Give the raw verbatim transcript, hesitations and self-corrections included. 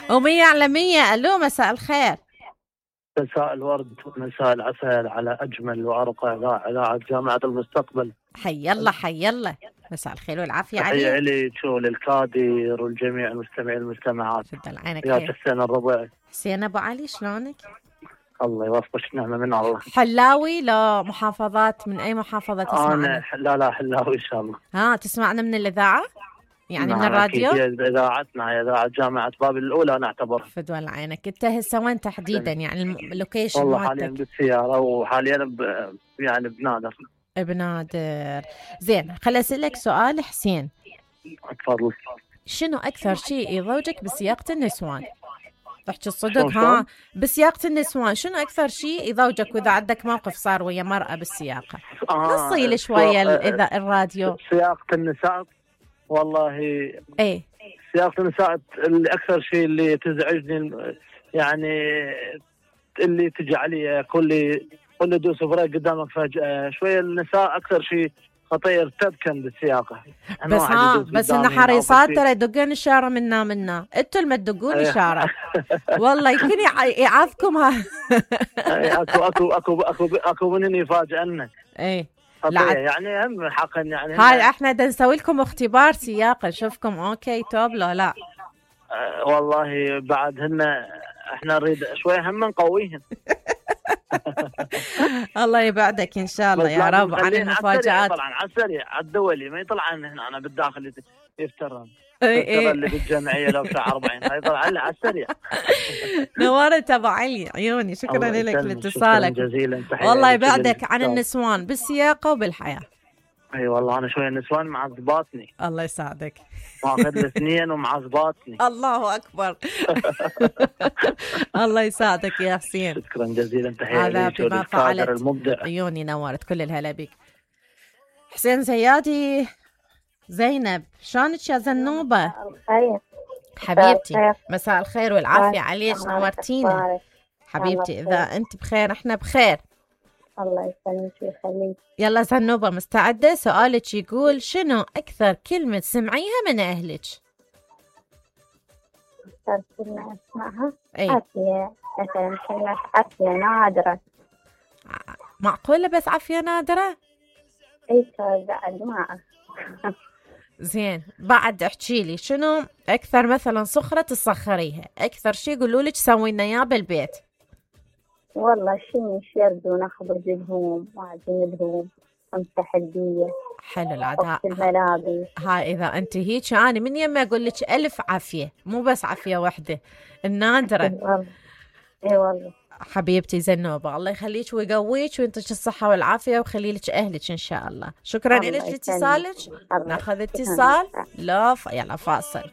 ومية على مية. ألو مساء الخير. مساء الورد ومساء العسل على أجمل وأرقى إذاعة، إذاعة جامعة المستقبل. حي الله حي الله، مساء الخير والعافية عليك. تحية لي شو للكادر والجميع المستمعين والمستمعات. تفضل عينك يا خير. حسين الربيع. حسين أبو علي شلونك؟ الله يوفقك، نعمة من الله. حلاوي لا محافظات، من أي محافظة تسمعنا؟ أنا لا لا حلاوي إن شاء الله. ها تسمعنا من الإذاعة؟ يعني من الراديو؟ هي إذاعتنا هي إذاعة جامعة بابل الأولى نعتبرها. فدول عينك. أنت هسه وين تحديدا يعني اللوكيشن؟ والله حاليا بالسيارة وحاليا ب... يعني بنادر. بنادر. زين خل أسألك سؤال حسين. تفضل. شنو أكثر شيء يضوجك بسياقة النسوان؟ تحكي الصدق ها؟ بسياقة النسوان شنو أكثر شيء يضوجك، وإذا عندك موقف صار ويا مرأة بالسياقة؟ آه نصيل شوية إذا الراديو. سياقة النساء والله ايه سياقة النساء اللي أكثر شيء اللي تزعجني، يعني اللي تجي علي كل كل دوس بريك قدامك فجأة. شوية النساء أكثر شيء خطير تبكن بالسياقة. بس ها بس إن حريصات ترى يدقون إشارة منا منا، أنتوا اللي ما تدقون إشارة. والله يمكن يعاذكم ها. أكو أكو أكو أكو أكو من يفاجئنك. إيه لا يعني هم حقا يعني هاي احنا بدنا نسوي لكم اختبار سياقه نشوفكم اوكي توب لو لا. أه والله بعد هن احنا نريد شوي هم نقويهم. الله يبعدك ان شاء الله يا رب عن المفاجآت. طبعا على السريع على الدولي ما يطلع عن هنا، انا بالداخل يفترن. اي اي اللي بالجمعيه لو بتاع أربعين هاي يطلع على السريع. نورت ابو علي عيوني، شكرا لك لاتصالك جزيلا. والله يبعدك عن النسوان بالسياقه وبالحياه. اي والله انا شويه النسوان معذباتني. الله يساعدك. ماخذ الاثنين ومعذباتني. الله اكبر. الله يساعدك يا حسين. شكرا جزيلا. تحيه هذا بما فعلت المبدع. عيوني نورت كل الهلا بك. حسين زيادي. زينب شلونك يا زنوبه؟ خير حبيبتي. مساء الخير والعافيه عليك، نورتينا حبيبتي. اذا انت بخير احنا بخير. الله يسلمك ويخليك. يلا زنوبة مستعدة؟ سؤالك يقول شنو أكثر كلمة سمعيها من أهلك؟ أكثر كلمة أسمعها؟ أي عافية مثلا، كلمة عافية نادرة. معقولة بس عافية نادرة؟ أي بعد ما. زين بعد احكي لي شنو أكثر مثلا صخرة تصخريها؟ أكثر شي يقولوا لك سوي لنا إياه بالبيت. والله شيء شرد ونخبز الهوم وعجين الهوم امسح البية. حلو العداء. الملابس. هاي إذا أنت هيك أنا من يمي أقول لك ألف عافية، مو بس عافية واحدة النادرة. والله إي والله حبيبتي زنوبة، الله يخليك ويقويك وينطيك الصحة والعافية ويخلي لك أهلك إن شاء الله. شكرا لك لاتصالك. ناخذ اتصال. لا يلا فاصل.